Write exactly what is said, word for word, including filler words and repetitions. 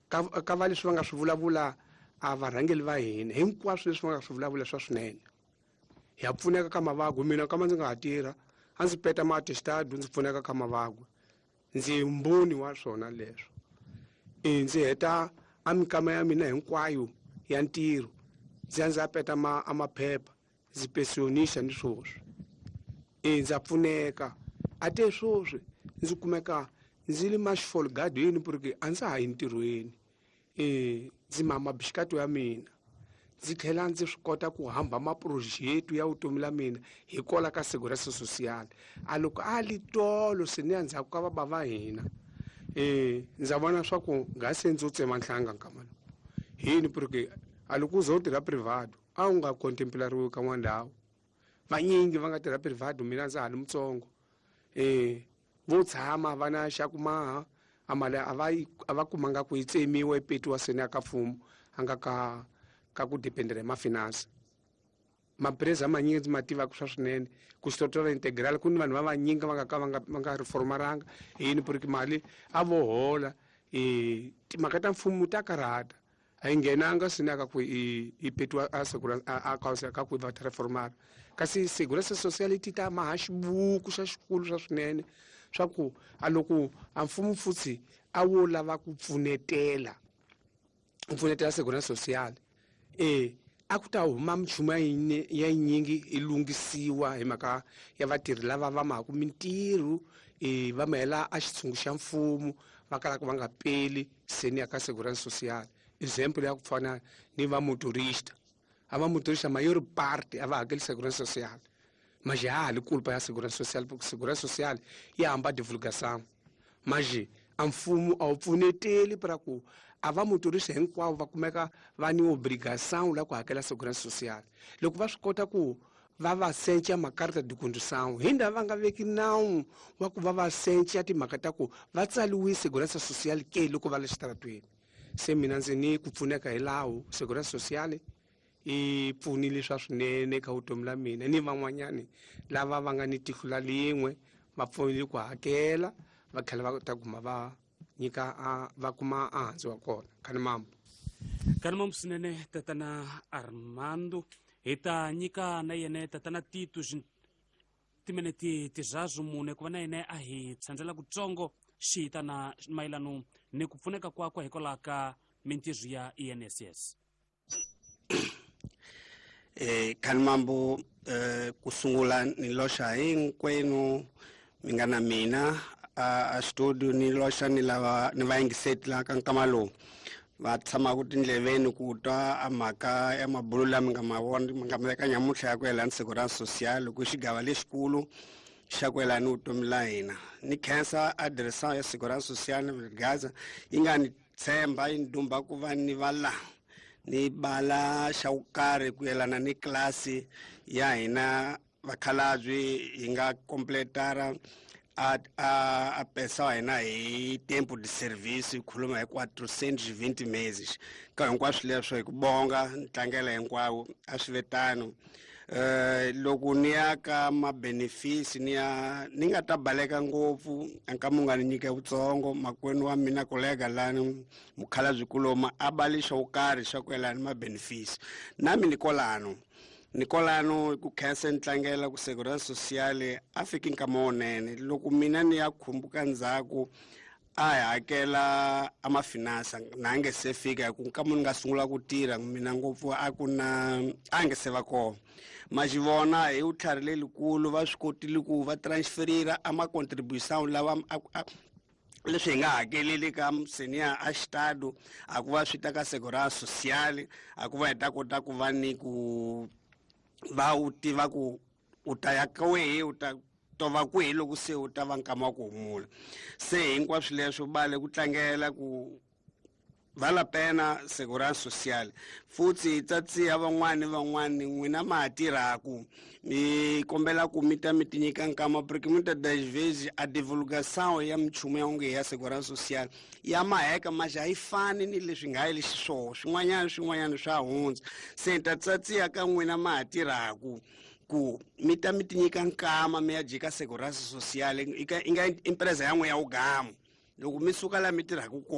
ka ka va leswi va nga swi vulavula a varhangeli va hina hinkwaswo leswi va nga swi vulavula swa swinene ya pfuneka ka mavagwe mina kama ndzi nga ha tirha a ndzi peta maatestado ndzi pfuneka ka mavagwe ndzi mboni wa swona leswo e ndzi heta a mikama ya mina hinkwayo ya ntirho ndzi ya ndzi ya peta ma a maphepha ndzi pensionisa ni swoswi e ndza pfuneka a te swoswi ndzi kumeka ndzi li maxfolgado yini porque a ndza ha yi ntirhweni e ndzi mama bixikato ya mina ndzi tlhela ndzi swi kota ku hamba maproject ya vutomi la mina hikwalaho ka segurança social a loko a li tolo se ni ya ndzhaku ka baba va hina e ndza vona swa ku nga se ndzo tsema nhlanga nkama lowu hini porque a loko u ze u tirha privado a wu nga contemplariwi ka n'wana ndhawu vanyingi va nga tirha privado mina ndza ha li mutsongo e vo tshama va na xa ku maha a mali a va yi a va kumanga ku yi tsemiwa yi petiwa seni ya ka mfumo a nga ka ka ku dependera hi mafinance mapreza manyingi ndzi ma tivaka swa swinene ku xitotora integral ku ni vanhu va vanyingi va nga ka va nga va nga reformaranga yini porque mali a vo hola e timhaka ta mfumo ta karhata a yi nghenanga sini ka ku i i petiwa a segurança a a ka ku va ta reformara kasi segurança social ti ta maha xibuku xa xikulu swa swinene swa ku a loko a mfumo futsi a wo lava ku pfunetela ku pfunetela segurança social e a ku ta huma minchumu ya ya yinyingi yi lunghisiwa hi mhaka ya vatirhi lava va mahaku mintirho e va mahela a xitshungu xa mfumo va kalaka va nga peli seni ya ka segurança social example ya ku fana ni va motorista a va motorista mayor parte a va hakeli segurança social mas ha ha li culpa ya segurança social porque segurança social yi hamba divulgação mas a mfumo a wu pfuneteli para ku a va motorista hinkwavo va kumeka va ni obrigação la ku hakela segurança social loko va swi kota ku va va senca makarta de condução hi ndhawu va nga veki nawu wa ku va va senca timhaka ta ku va tsaliwi segurança social ke loko va le xitaratweni se mina ndzi ni ku pfuneka hi lawo segurança social i pfunile swa swinene ka vutomi la mina ni van'wanyani lava va nga ni tihlo la lin'we va pfunile ku hakela va tlhela va ta kuma va nyika a va kuma a handzu wa kona kani mambo kani mambo swinene tatana Armando hi ta nyika na yene tatana Tito timinete tizazu mune ku va na yene a hi tshandzela kutsongo xi na mayelano ni ku pfuneka kwakwe hikwalaho ka mintirho ya I N S S eh kani mambo eh kusungula ni loxa hinkwenu mi nga na mina a studio ni loxa ni lava ni vayingiseti la ka nkama lowu va tshamaka tindleveni ku twa a mhaka ya mabulo lama nga ma vona mi nga ma veka nyamuntlha ya ku yelana segurança social ku xigava lexikulu xa ku yelana ni vutomi la hina ni khensa a direção ya segurança social ni Gaza yi nga ni tshemba yi ni dumba ku va ni va la ni bala xa ku karhi ku yelana ni klasi ya hina vakhalabye hi nga completara a a a pesa hina hi tempo de serviço hi khuluma hi quatrocentos e vinte meses ka hinkwaswo leswo hi ku bonga ni tlangela hinkwawo a swi ve tano eh loko ni ya ka ma-benefits ni ya ni nga ta baleka ngopfu nkama u nga ni nyika vutsongo makwenu wa mina kolega lani mukhalabye kuloma a bali xo karhi xa ku yelana ni ma-benefits nami ni kolano ni kolano ku khensa ni tlangela ku segurança social a fiki nkama wunene loko mina ni ya khumbuka ndzhaku a hi hakela a mafinansa na nge se fika hi ku nkama ni nga sungula ku tirha mina ngopfu a ku na a nge se va kona ma xi vona hi vutlhari lelikulu va swi kotile ku va transferira a ma-contribution lawa leswi hi nga hakeleli ka senior a xitado a ku va swi ta ka segurança social a ku va hi ta kota ku va ni ku va u tiva ku u ta ya ka wehe u ta tova kwihi loko se u ta va nkama wa ku humula se hinkwaswo leswo bale ku tlangela ku vala pena segurança social futhi hi tsatsiha van'wani van'wani n'wina ma ha tirhaku mi kombela ku mi ta mi ti nyika nkama porque muitas das vezes a divulgação ya minchumu ya onge ya segurança social ya maheka mas a yi fani ni leswi nga yi xiswona swin'wanyana swin'wanyana swa hundza se hi ta tsatsiha ka n'wina ma ha tirhaku ku mi ta mi ti nyika nkama mi ya jika segurança social i nga empresa ya n'we ya wugamu loko mi suka laha mi tirhaka kona.